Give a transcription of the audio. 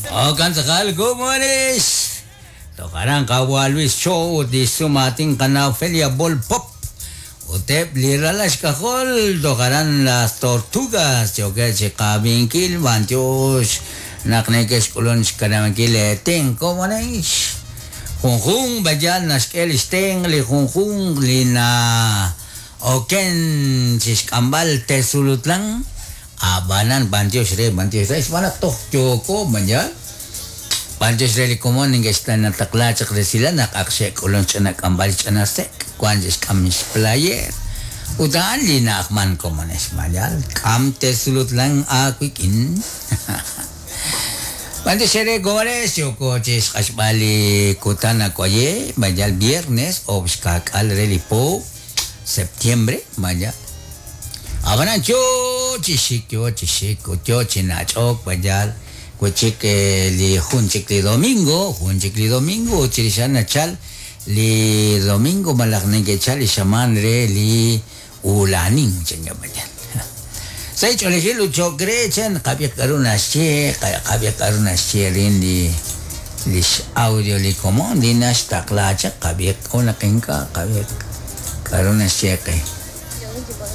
Okan tz'aqal komonex. Toj aran qawa' Luis Cho ut li xsumaatin qana' Ofelia Bol Pop ut eb' li ralal xk'ajol toj aran Las Tortugas yookeb' chi qab'inkil b'antiox naq neke'xk'ulun xkanab'ankil leetenq komonex. Junjunq b'ayal naxk'e li xtenq li junjunq li na'oken chi xk'amb'al Tezulutlán. Ab'anan b'antiox re, b'antiox re, xb'aan naq toj yooko, b'anyaal. B'antiox re li komon neke'xtaqla chaq resilal naq ak xe'k'ulun xch'ina k'amb'al xch'ina sek', wan xe'xk'am xplayeer. Ut a'an li na'ajman komonex, b'anyaal. K'am Tezulutlán aawik'in. B'antiox eere komonex, yooko chi xq'axb'al li kutan ak'waye, b'anyaal viernes, oob' xka'k'aal re li po, septiembre, b'anyaal. Ab'anan yo chi xik, yo chi xik ut yo chi nach'ok b'ayal wi' chik li jun chik li domingo, jun chik li domingo ut chirix a'an nachal li domingo malaj neke'chal li xamaan re li ula'anink chankeb' b'ayal. Sa' li ch'oolejil ut cho'q re chan qab'iiq k'a'ru naxye, qab'iiq k'a'ru naxye rin li lix audio li komon li naxtaqla chaq qab'iiq k'o naq ink'a' qab'iiq k'a'ru naxye qe.